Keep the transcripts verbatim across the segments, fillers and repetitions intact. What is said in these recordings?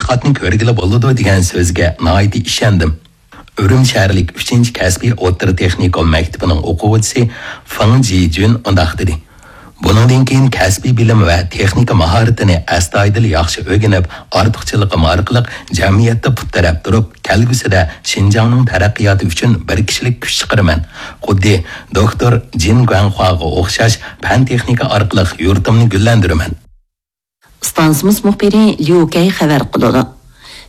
تەتقىقاتنى كۆرگىلى بولىدۇ دېگەن سۆزگە ناھايىتى ئىشەندىم. ئۈرۈمچى شەھەرلىك ئۈچىنچى كەسپىي ئوتتۇرا تېخنىكوم مەكتىپىنىڭ ئوقۇغۇچىسى فېڭ جىجۈن مۇنداق دېدى: بۇنىڭدىن كېيىن كەسپىي بىلىم ۋە تېخنىكا ماھارىتىنى ئەستايىدىل ياخشى ئۆگىنىپ، ئارتۇقچىلىقىم ئارقىلىق جەمئىيەتتە پۇت تىرەپ تۇرۇپ، كەلگۈسىدە شىنجاڭنىڭ تەرەققىياتى ئۈچۈن بىر كىشىلىك كۈچ چىقىرىمەن. خۇددى دوكتور جىن گۇەنخۇاغا ئوخشاش پەن-تېخنىكا ئارقىلىق يۇرتۇمنى گۈللەندۈرىمەن. ئىستانسىمىز مۇخبىرى ليۇ كەي خەۋەر قىلىدۇ.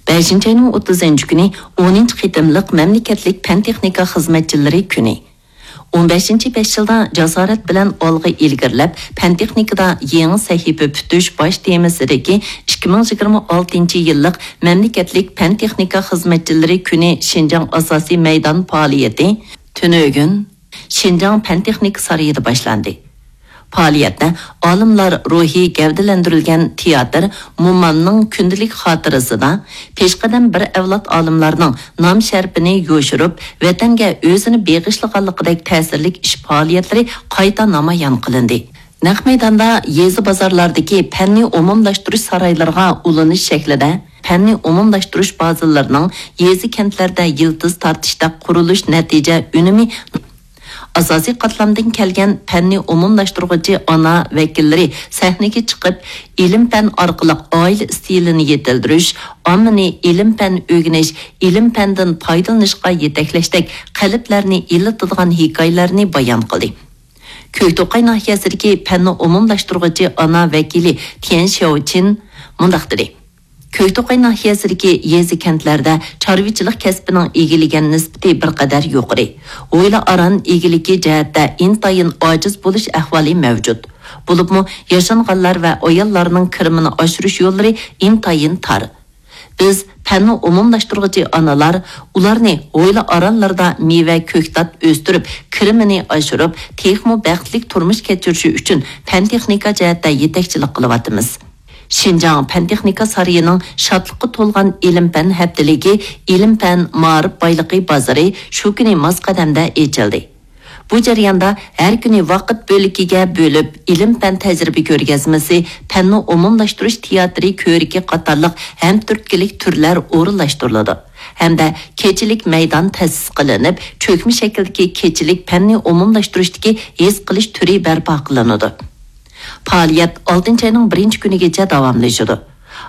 بەشىنچى ئاينىڭ ئوتتۇزىنچى كۈنى ئونىنچى قېتىملىق مەملىكەتلىك پەن-تېخنىكا خىزمەتچىلىرى كۈنى. ئون بەشىنچى بەش يىلدا جاسارەت بىلەن ئالغا ئىلگىرىلەپ، پەن-تېخنىكىدا يېڭى سەھىپە پۈتۈش باش تېمىسىدىكى ئىككى مىڭ يىگىرمە ئالتىنچى يىللىق مەملىكەتلىك پەن-تېخنىكا خىزمەتچىلىرى كۈنى شىنجاڭ ئاساسىي مەيدان پائالىيىتى تۈنۈگۈن شىنجاڭ پەن-تېخنىكا سارىيىدا باشلاندى. پائالىيەتتە ئالىملار روھى گەۋدىلەندۈرۈلگەن تىياتىر مومامنىڭ كۈندىلىك خاتىرىسىدا پېشقەدەم بىر ئەۋلاد ئالىملارنىڭ نام-شەرىپىنى يوشۇرۇپ، ۋەتەنگە ئۆزىنى بېغىشلىغانلىقىدەك تەسىرلىك ئىش-پائالىيەتلىرى قايتا نامايان قىلىندى. نەق مەيداندا يېزا-بازارلاردىكى پەننى ئومۇملاشتۇرۇش سارايلىرىغا ئۇلىنىش شەكلىدە پەننى ئومۇملاشتۇرۇش بازىلىرىنىڭ يېزا-كەنتلەردە يىلتىز تارتىشتەك قۇرۇلۇش نەتىجە ئۈنۈمى ئاساسىي قاتلامدىن كەلگەن پەننى ئومۇملاشتۇرغۇچى ئانا ۋەكىللىرى سەھنىگە چىقىپ، ئىلىم-پەن ئارقىلىق ئائىلە ئىستىلىنى يېتىلدۈرۈش، ئاممىنى ئىلىم-پەن ئۆگىنىش، ئىلىم-پەندىن پايدىلىنىشقا يېتەكلەشتەك قەلبلەرنى ئىللىتىدىغان ھېكايىلەرنى بايان قىلدى. كۆكتوقاي ناھىيەسىدىكى پەننى ئومۇملاشتۇرغۇچى ئانا ۋەكىلى تيەن شياۋچىن مۇنداق دېدى: كۆكتوقاي ناھىيەسىدىكى يېزا-كەنتلەردە چارۋىچىلىق كەسپىنىڭ ئىگىلىگەن نىسبىتى بىر قەدەر يۇقىرى. ھويلا-ئاران ئىگىلىكى جەھەتتە ئىنتايىن ئاجىز بولۇش ئەھۋالى مەۋجۇت. بولۇپمۇ ياشانغانلار ۋە ئاياللارنىڭ كىرىمىنى ئاشۇرۇش يوللىرى ئىنتايىن تار. بىز پەننى ئومۇملاشتۇرغۇچى ئانىلار ئۇلارنى ھويلا-ئارانلىرىدا مېۋە، كۆكتات ئۆستۈرۈپ، كىرىمىنى ئاشۇرۇپ، تېخىمۇ بەختلىك تۇرمۇش كەچۈرۈشى ئۈچۈن پەن-تېخنىكا جەھەتتە يېتەكچىلىك قىلىۋاتىمىز. شىنجاڭ پەن-تېخنىكا سارىيىنىڭ شادلىققا تولغان ئىلىم-پەن ھەپتىلىكى، ئىلىم-پەن مائارىپ بايلىقى بازىرى شۇ كۈنى ماس قەدەمدە ئېچىلدى. بۇ جەرياندا ھەر كۈنى ۋاقىت بۆلىكىگە بۆلۈپ، ئىلىم-پەن تەجرىبە كۆرگەزمىسى، پەننى ئومۇملاشتۇرۇش تىياتىرى كۆرىكى قاتارلىق ھەم تۈرتكىلىك تۈرلەر ئورۇنلاشتۇرۇلىدۇ ھەمدە كېچىلىك مەيدان تەسىس قىلىنىپ، چۆكمە شەكىلدىكى كېچىلىك پەننى ئومۇملاشتۇرۇشتىكى ھېس قىلىش تۈرى بەرپا قىلىنىدۇ. پائالىيەت ئالتىنچى ئاينىڭ بىرىنچى كۈنىگىچە داۋاملىشىدۇ.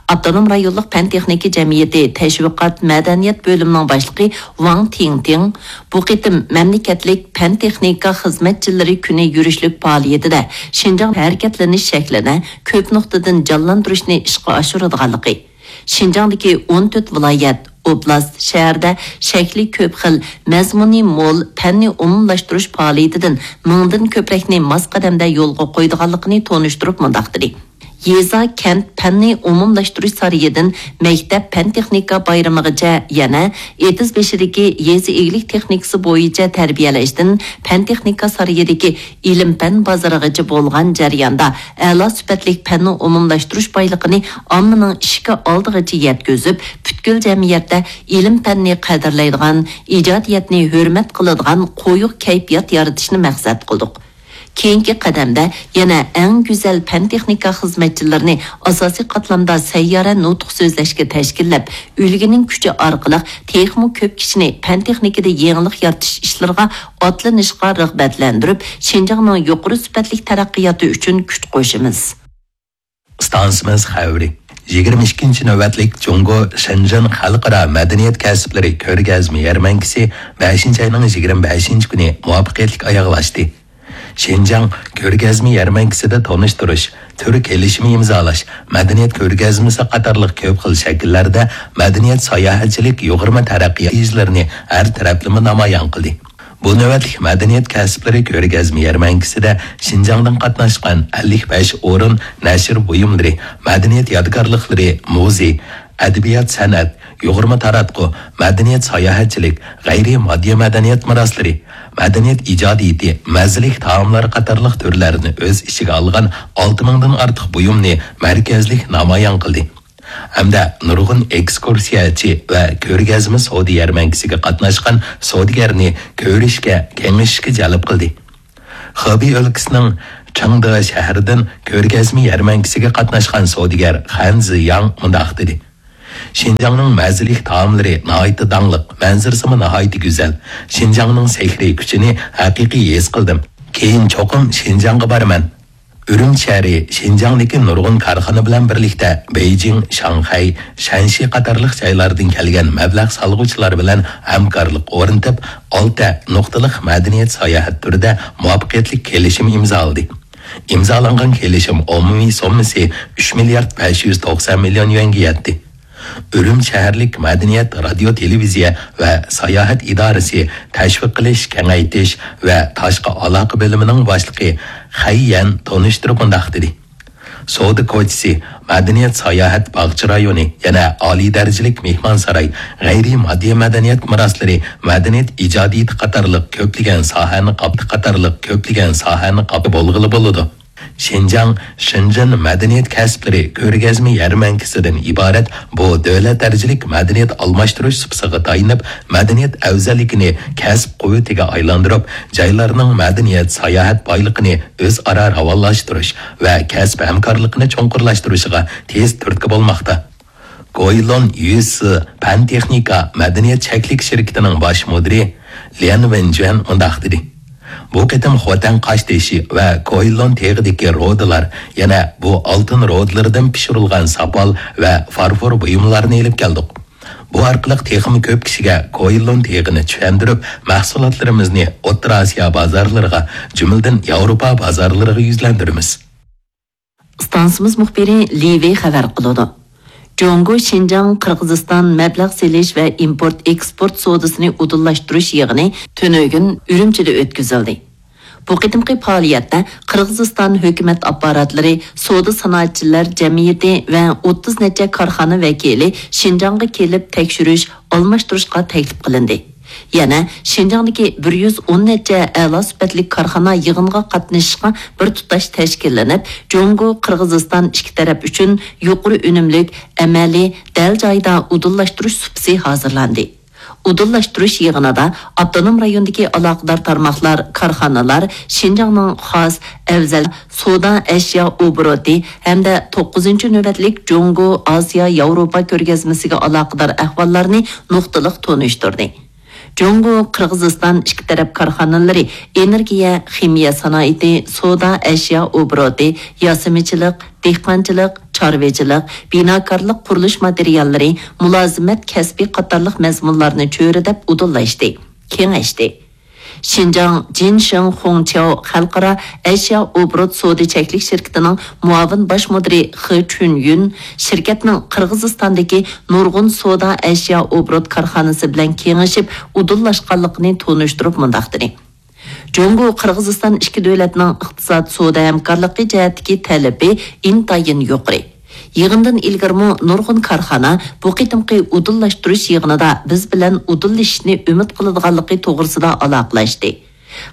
ئاپتونوم رايونلۇق پەن-تېخنىكا جەمئىيىتى تەشۋىقات مەدەنىيەت بۆلۈمىنىڭ باشلىقى ۋاڭ تىڭتىڭ بۇ قېتىم مەملىكەتلىك پەن-تېخنىكا خىزمەتچىلىرى كۈنى يۈرۈشلۈك پائالىيىتىدە شىنجاڭ ھەرىكەتلىنىش شەكلىنى كۆپ نۇقتىدىن جانلاندۇرۇشنى ئىشقا ئاشۇرىدىغانلىقى، شىنجاڭدىكى ئون تۆت ۋىلايەت، ئوبلاست، شەھەردە شەكلى كۆپ خىل، مەزمۇنى مول پەننى ئومۇملاشتۇرۇش پائالىيىتىدىن مىڭدىن كۆپرەكنى ماس قەدەمدە يولغا قويىدىغانلىقىنى تونۇشتۇرۇپ مۇنداق دېدى: يېزا، كەنت پەننى ئومۇملاشتۇرۇش سارىيىدىن مەكتەپ پەن-تېخنىكا بايرىمىغىچە، يەنە ئېتىز بېشىدىكى يېزا ئىگىلىك تېخنىكىسى بويىچە تەربىيەلەشتىن پەن-تېخنىكا سارىيىدىكى ئىلىم-پەن بازىرىغىچە بولغان جەرياندا ئەلا سۈپەتلىك پەننى ئومۇملاشتۇرۇش بايلىقىنى ئاممىنىڭ ئىشىكى ئالدىغىچە يەتكۈزۈپ، پۈتكۈل جەمئىيەتتە ئىلىم-پەننى قەدىرلەيدىغان، ئىجادىيەتنى ھۆرمەت قىلىدىغان قويۇق كەيپىيات يارىتىشنى مەقسەت قىلدۇق. كېيىنكى قەدەمدە يەنە ئەڭ گۈزەل پەن-تېخنىكا خىزمەتچىلىرىنى ئاساسىي قاتلامدا سەييارە نۇتۇق سۆزلەشكە تەشكىللەپ، ئۈلگىنىڭ كۈچى ئارقىلىق تېخىمۇ كۆپ كىشىنى پەن-تېخنىكىدا يېڭىلىق يارىتىش ئىشلىرىغا ئاتلىنىشقا رىغبەتلەندۈرۈپ، شىنجاڭنىڭ يۇقىرى سۈپەتلىك تەرەققىياتى ئۈچۈن كۈچ قوشىمىز. ئىستانسىمىز خەۋىرى. يىگىرمە ئىككىنچى نۆۋەتلىك جۇڭگو شېنجېن خەلقئارا مەدەنىيەت كەسىپلىرى كۆرگەزمە يەرمەنكىسى بەشىنچى ئاينىڭ يىگىرمە بەشىنچى كۈنى مۇۋەپپەقىيەتلىك ئاياغلاشتى. شىنجاڭ كۆرگەزمە يەرمەنكىسىدە تونۇشتۇرۇش، تۈر كېلىشىمى ئىمزالاش، مەدەنىيەت كۆرگەزمىسى قاتارلىق كۆپ خىل شەكىللەردە مەدەنىيەت ساياھەتچىلىك يۇغۇرما تەرەققىيات نەتىجىلىرىنى ھەر تەرەپلىمە نامايان قىلدى. بۇ نۆۋەتلىك مەدەنىيەت كەسىپلىرى كۆرگەزمە يەرمەنكىسىدە شىنجاڭدىن قاتناشقان ئەللىك بەش ئورۇن نەشر بۇيۇملىرى، مەدەنىيەت يادىكارلىقلىرى، مۇزېي، ئەدەبىيات-سەنئەت، يۇغۇرما تاراتقۇ، مەدەنىيەت-ساياھەتچىلىك، غەيرىي ماددىي مەدەنىيەت مىراسلىرى، مەدەنىيەت ئىجادىيىتى، مەززىلىك تائاملار قاتارلىق تۈرلەرنى ئۆز ئىچىگە ئالغان ئالتە مىڭدىن ئارتۇق بۇيۇمنى مەركەزلىك نامايان قىلدى ھەمدە نۇرغۇن ئېكسكۇرسىيەچى ۋە كۆرگەزمە سودا يەرمەنكىسىگە قاتناشقان سودىگەرنى كۆرۈشكە، كېڭىشىشكە جەلپ قىلدى. خېبېي ئۆلكىسىنىڭ چېڭدې شەھىرىدىن كۆرگەزمە يەرمەنكىسىگە قاتناشقان سودىگەر خەن زىياڭ مۇنداق دېدى: شىنجاڭنىڭ مەززىلىك تائاملىرى ناھايىتى داڭلىق، مەنزىرىسىمۇ ناھايىتى گۈزەل. شىنجاڭنىڭ سېھرىي كۈچىنى ھەقىقىي ھېس قىلدىم. كېيىن چوقۇم شىنجاڭغا بارىمەن. ئۈرۈمچى شەھىرى شىنجاڭدىكى نۇرغۇن كارخانا بىلەن بىرلىكتە بېيجىڭ، شاڭخەي، شەنشى قاتارلىق جايلاردىن كەلگەن مەبلەغ سالغۇچىلار بىلەن ھەمكارلىق ئورنىتىپ، ئالتە نۇقتىلىق مەدەنىيەت ساياھەت تۈرىدە مۇۋەپپەقىيەتلىك كېلىشىم ئىمزالىدى. ئىمزالانغان كېلىشىم ئومۇمىي سوممىسى ئۈچ مىليارد بەش يۈز توقسان مىليون يۈەنگە يەتتى. ئۈرۈمچى شەھەرلىك مەدەنىيەت، رادىيو، تېلېۋىزىيە ۋە ساياھەت ئىدارىسى تەشۋىق قىلىش، كېڭەيتىش ۋە تاشقى ئالاقە بۆلۈمىنىڭ باشلىقى خەي يەن تونۇشتۇرۇپ مۇنداق دېدى: سودا كوچىسى، مەدەنىيەت ساياھەت باغچە رايونى، يەنە ئالىي دەرىجىلىك مېھمانساراي، غەيرىي ماددىي مەدەنىيەت مىراسلىرى، مەدەنىيەت ئىجادىيىتى قاتارلىق كۆپلىگەن ساھەنى قاپ-، قاتارلىق كۆپلىگەن ساھەنى قاپ بولغىلى بولىدۇ. شىنجاڭ، شېنجېن مەدەنىيەت كەسىپلىرى كۆرگەزمە يەرمەنكىسىدىن ئىبارەت بۇ دۆلەت دەرىجىلىك مەدەنىيەت ئالماشتۇرۇش سۇپىسىغا تايىنىپ، مەدەنىيەت ئەۋزەللىكىنى كەسىپ قۇۋۋىتىگە ئايلاندۇرۇپ، جايلارنىڭ مەدەنىيەت، ساياھەت بايلىقىنى ئۆزئارا راۋانلاشتۇرۇش ۋە كەسىپ ھەمكارلىقىنى چوڭقۇرلاشتۇرۇشىغا تېز تۈرتكە بولماقتا. گويلون يۈسى پەن تېخنىكا مەدەنىيەت چەكلىك شىركىتىنىڭ باش مۇدىرى ليەن ۋېنجۈەن مۇنداق دېدى: بۇ قېتىم خوتەن قاشتېشى ۋە گويلون تېغىدىكى رۇدىلار، يەنە بۇ ئالتۇن رۇدىلىرىدىن پىشۇرۇلغان ساپال ۋە فارفور بۇيۇملارنى ئېلىپ كەلدۇق. بۇ ئارقىلىق تېخىمۇ كۆپ كىشىگە گويلون تېغىنى چۈشەندۈرۈپ، مەھسۇلاتلىرىمىزنى ئوتتۇرا ئاسىيا بازارلىرىغا، جۈملىدىن ياۋروپا بازارلىرىغا يۈزلەندۈرىمىز. ئىستانسىمىز مۇخبىرى لى ۋېي خەۋەر قىلىدۇ. جۇڭگو شىنجاڭ قىرغىزىستان مەبلەغ سېلىش ۋە ئىمپورت ئېكسپورت سودىسىنى ئۇدۇللاشتۇرۇش يىغىنى تۈنۈگۈن ئۈرۈمچىدە ئۆتكۈزۈلدى. بۇ قېتىمقى پائالىيەتتە قىرغىزىستان ھۆكۈمەت ئاپپاراتلىرى، سودا سانائەتچىلەر جەمئىيىتى ۋە ئوتتۇز نەچچە كارخانا ۋەكىلى شىنجاڭغا كېلىپ تەكشۈرۈش، ئالماشتۇرۇشقا تەكلىپ قىلىندى. يەنە شىنجاڭدىكى بىر يۈز ئون نەچچە ئەلا سۈپەتلىك كارخانا يىغىنغا قاتنىشىشقا بىر تۇتاش تەشكىللىنىپ، جۇڭگو، قىرغىزىستان ئىككى تەرەپ ئۈچۈن يۇقىرى ئۈنۈملۈك، ئەمەلىي، دەل جايىدا ئۇدۇللاشتۇرۇش سۇپىسى ھازىرلاندى. ئۇدۇللاشتۇرۇش يىغىنىدا ئاپتونوم رايوندىكى ئالاقىدار تارماقلار، كارخانىلار شىنجاڭنىڭ خاس ئەۋزەل سودا ئەشيا ئوبوروتى ھەمدە توققۇزىنچى نۆۋەتلىك جۇڭگو ئاسىيا ياۋروپا كۆرگەزمىسىگە ئالاقىدار ئەھۋاللارنى نۇقتىلىق تونۇشتۇردى. جۇڭگو، قىرغىزىستان ئىككى تەرەپ كارخانىلىرى ئېنېرگىيە، خىمىيە سانائىتى، سودا ئەشيا ئوبوروتى، ياسىمىچىلىق، دېھقانچىلىق، چارۋىچىلىق، بىناكارلىق، قۇرۇلۇش ماتېرىياللىرى، مۇلازىمەت كەسپى قاتارلىق مەزمۇنلارنى چۆرىدەپ ئۇدۇللاشتى، كېڭەشتى. شىنجاڭ جىنشېڭ خۇڭچياۋ خەلقئارا ئەشيا ئوبوروت سودا چەكلىك شىركىتىنىڭ مۇئاۋىن باش مۇدىرى خې چۈنيۈن شىركەتنىڭ قىرغىزىستاندىكى نۇرغۇن سودا ئەشيا ئوبوروت كارخانىسى بىلەن كېڭىشىپ ئۇدۇللاشقانلىقىنى تونۇشتۇرۇپ مۇنداق دېدى: جۇڭگو، قىرغىزىستان ئىككى دۆلەتنىڭ ئىقتىساد، سودا ھەمكارلىقى جەھەتتىكى تەلىپى ئىنتايىن يۇقىرى. يىغىندىن ئىلگىرىمۇ نۇرغۇن كارخانا بۇ قېتىمقى ئۇدۇللاشتۇرۇش يىغىنىدا بىز بىلەن ئۇدۇللىشىشنى ئۈمىد قىلىدىغانلىقى توغرىسىدا ئالاقىلەشتى.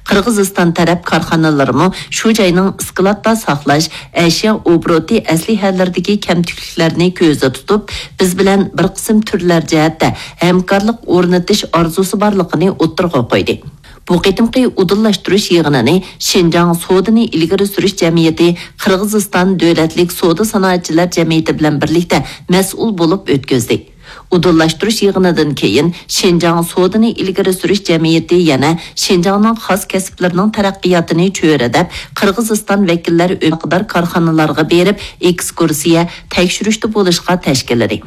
قىرغىزىستان تەرەپ كارخانىلىرىمۇ شۇ جاينىڭ ئىسكىلاتتا ساقلاش، ئەشيا ئوبوروتى ئەسلىھەلىرىدىكى كەمتۈكلۈكلەرنى كۆزدە تۇتۇپ، بىز بىلەن بىر قىسىم تۈرلەر جەھەتتە ھەمكارلىق ئورنىتىش ئارزۇسى بارلىقىنى ئوتتۇرىغا قويدى. بۇ قېتىمقى ئۇدۇللاشتۇرۇش يىغىنىنى شىنجاڭ سودىنى ئىلگىرى سۈرۈش جەمئىيىتى قىرغىزىستان دۆلەتلىك سودا سانائەتچىلەر جەمئىيىتى بىلەن بىرلىكتە مەسئۇل بولۇپ ئۆتكۈزدى. ئۇدۇللاشتۇرۇش يىغىنىدىن كېيىن، شىنجاڭ سودىنى ئىلگىرى سۈرۈش جەمئىيىتى يەنە شىنجاڭنىڭ خاس كەسىپلىرىنىڭ تەرەققىياتىنى چۆرىدەپ، قىرغىزىستان ۋەكىللەر ئۆمەقدار كارخانىلارغا بېرىپ، ئېكسكۇرسىيە، تەكشۈرۈشتە بولۇشقا تەشكىللىدى.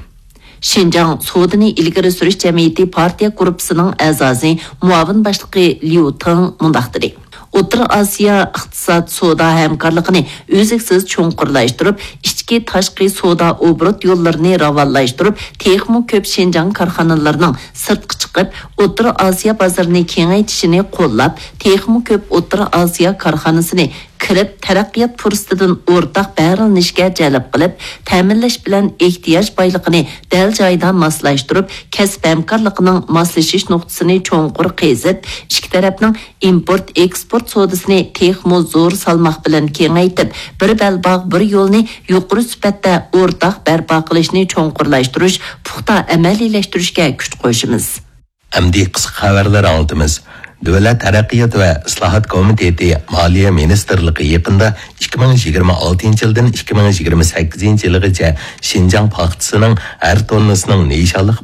شىنجاڭ سودىنى ئىلگىرى سۈرۈش جەمئىيىتى پارتىيە گۇرۇپپىسىنىڭ ئەزاسى، مۇئاۋىن باشلىقى ليۇ تېڭ مۇنداق دېدى: ئوتتۇرا ئاسىيا ئىقتىساد، سودا ھەمكارلىقىنى ئۈزلۈكسىز چوڭقۇرلاشتۇرۇپ، ئىچكى، تاشقى سودا ئوبوروت يوللىرىنى راۋانلاشتۇرۇپ، تېخىمۇ كۆپ شىنجاڭ كارخانىلىرىنىڭ سىرتقا چىقىپ، ئوتتۇرا ئاسىيا بازىرىنى كېڭەيتىشىنى قوللاپ، تېخىمۇ كۆپ ئوتتۇرا ئاسىيا كارخانىسىنى كىرىپ، تەرەققىيات پۇرسىتىدىن ئورتاق بەھرىلىنىشكە جەلپ قىلىپ، تەمىنلەش بىلەن ئېھتىياج بايلىقىنى دەل جايىدا ماسلاشتۇرۇپ، كەسىپ ھەمكارلىقىنىڭ ماسلىشىش نۇقتىسىنى چوڭقۇر قېزىپ، ئىككى تەرەپنىڭ ئىمپورت، ئېكسپورت سودىسىنى تېخىمۇ زور سالماق بىلەن كېڭەيتىپ، بىر بەلباغ، بىر يولنى يۇقىرى سۈپەتتە ئورتاق بەرپا قىلىشنى چوڭقۇرلاشتۇرۇش، پۇختا ئەمەلىيلەشتۈرۈشكە كۈچ قوشىمىز. ئەمدى قىسقا خەۋەرلەر ئاڭلىتىمىز. دۆلەت تەرەققىيات ۋە ئىسلاھات كومىتېتى مالىيە مىنىستىرلىقى يېقىندا ئىككى مىڭ يىگىرمە ئالتىنچى يىلدىن ئىككى مىڭ يىگىرمە سەككىزىنچى يىلغىچە شىنجاڭ پاختىسىنىڭ ھەر توننىسىنىڭ نىشانلىق